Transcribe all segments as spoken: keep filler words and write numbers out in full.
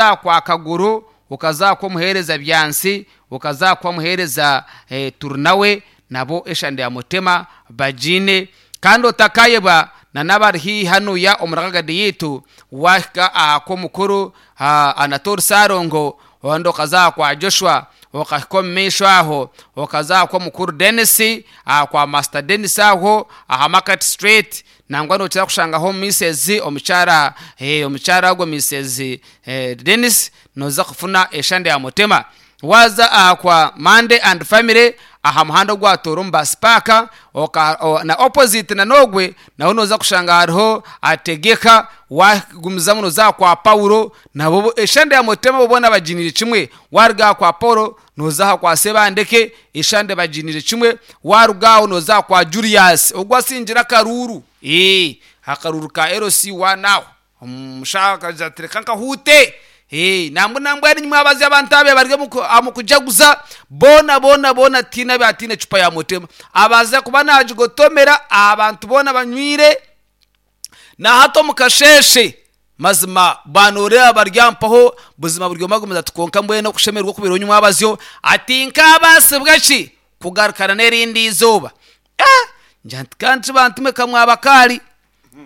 Waza kwa Kaguru, okaza kwa omuheereza Byansi, okaza kwa omuheereza eh, Turnawe, nabo eshande ya Mutema bagiine. Kandi otakayebwa na n'abari haihi hanuya omu Rwagadi yaitu, wahika aha kw'omukuru Anatole Sarongo, ondi okaza aha kwa Joshua, okahika omu maisho aho okaza aha kw'omukuru Denis, aha kwa Master Denis aho aha Market Street. Nangwa nokira kushangaho Missus omukyara, eh, omukyara ogwo Missus eh, Denis, noza kufuna eshande ya Mutema. Waza aha kwa Monday and Family aha muhanda ogwatoora omu bus park, oka, o, na opposite na nogwe naho noza kushanga hariho Ategeka. Wagumizamu noza kwa Paulo, nabo eshande ya Mutema bo boona baginire kimwe. Waruga aha kwa Paulo noza aha kwa Sebandeke, eshande baginire kimwe. Waruga aho noza kwa Julius ogwo asingira akaruru, eh akaruru ka L C one aho omushaka atereka nkahuute. Eh, nambwe nambwe ari nyuma abazi abantu abe bari mu kujaguza bona bona bona tina batine chupa ya Mutema abaza kuba najigotomera abantu bona banywire na hato mukasheshe mazima banore abaryampaho buzima buryo magumiza tukonka mbwene okushemerwa kubiro nyuma abazyo ati nkabasibwa ki kugarukana nerindi izuba. Ah, njanti kandi bantume kamwabakali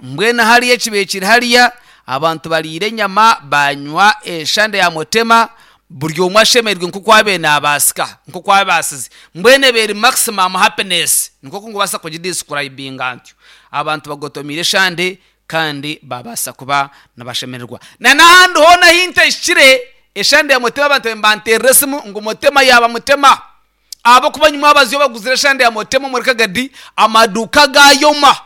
mbwene hariya kibekiri hariya abantu bariire enyama banywa eshande ya Mutema buri omwe ashemerwe nko kwabe nabasika nko kwabasize mbwene beri maximum happiness nko kungubasa kugidescribinga ntyo abantu bagotomire eshande kandi babasa kuba nabashemererwa. Na nahandi hona hinte shire eshande ya Mutema abantu mbanterere simu ngo Mutema yaba Mutema abo kuba nyuma abaziyo baguzire eshande ya Mutema muri Kagadi amaduka gayoma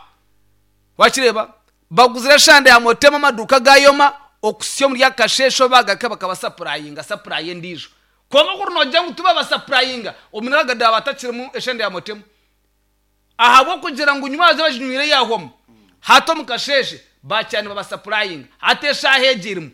wakireba baguzire shande ya Mutema amaduka gayoma okusyo muri yakashesho bagaka bakabasapurayinga sapuraye ndijo kongo kuri noja ngo tuba basapurayinga omunagada batakiremu eshande ya Mutema ahabo kugira ngo nyuma baze bajinywire yahomo hato mukasheshe bacyane babasapurayinga atesha hegirimu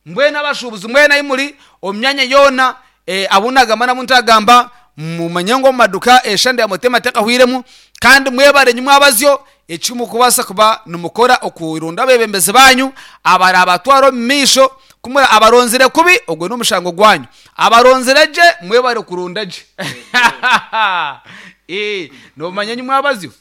mbwena abashubuzi mbwena imuri omyanya yona eh, abunagamba namuntagamba mumanye ngo maduka eshande ya Mutema tekahwiremu kandi mwebare nyuma abazyo ekimu kubasa kuba numukora okurunda bebembeze banyu abara abatwaro misho kumura abaronzire kubi ogwe n'umushango gwanyu abaronzire je mwebare kurunda je eh no manye nyuma abazyo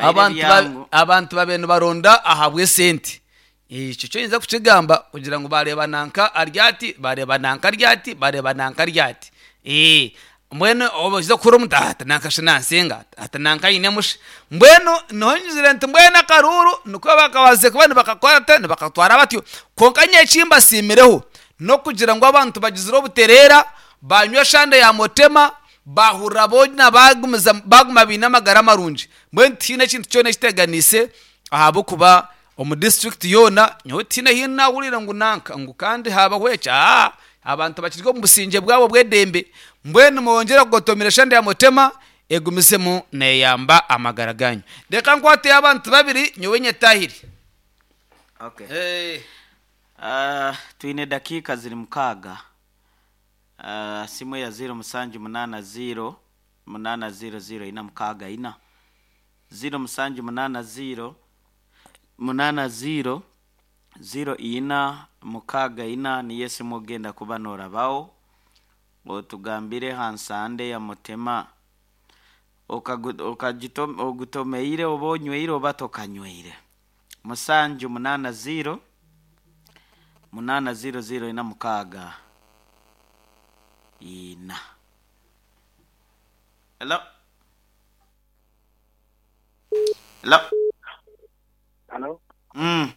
abantu abantu babenu baronda ahabwe sente icyo cyo nza kukigamba kugira ngo bareba nanka aryati bareba nanka aryati bareba nanka aryati eh mbwenu obaza kuri omutata nankashe nansenga ata nanka yine mushe mbwenu nohonyizire nti mbwenu akaruru niko bakabaze kuba nibakakwata nibakatwara batyo konka nyekimba simireho no kugira ngo abantu bagizire obuterera banywa shande ya Mutema bahurra bona bagumiza baguma bina amagara marungi mbwenu tine kintu kyona kiteganise ahabo kuba omu district yona nyowe tine hino nahurira ngu nanka ngu kandi habaho eki ah abantu bakirwe mu businge bwabo bwedembe mbwenu mwongera kugotomera shande ya Mutema egumisemu neyamba amagara ganyu. Reka nkwate abantu babiri nyowe nyetahiri. Okay. Hey. Uh, twine dakika ziri mukaga. Uh, simu ya zero musanju munana zero munana zero zero ina mukaga ina zero musanju munana zero munana zero zero ina mukaga ina niyo simu ogenda kuba norabaho otugambire hansande ya Mutema ogutomeire oba onyweire oba tokanyweire musanju munana zero munana zero zero ina mukaga ina. Hello? Hello? Hello? Mm.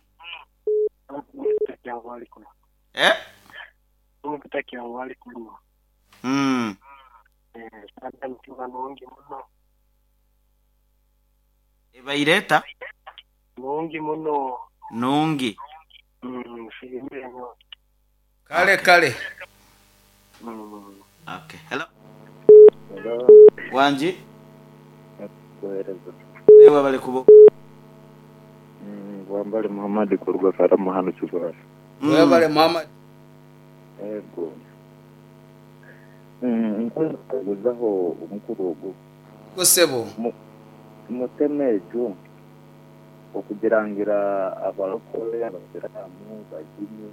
Eh? Mm. Ebaireta? Nungi muno. Nungi. Mm, siimire nyo. Kale kale. Mm. Okay. Hello. Hello. Wanji? Kuhereza. Ewa bale kubo. Mm, wambale Muhammad kuruga karamu hano Kibara. Mm. Wabale Muhammad. Ego. Mm, nkoze kuguzaho umukuru ogu. Gosebo. Muteme ejo okugirangira abarokore abasiramu baginye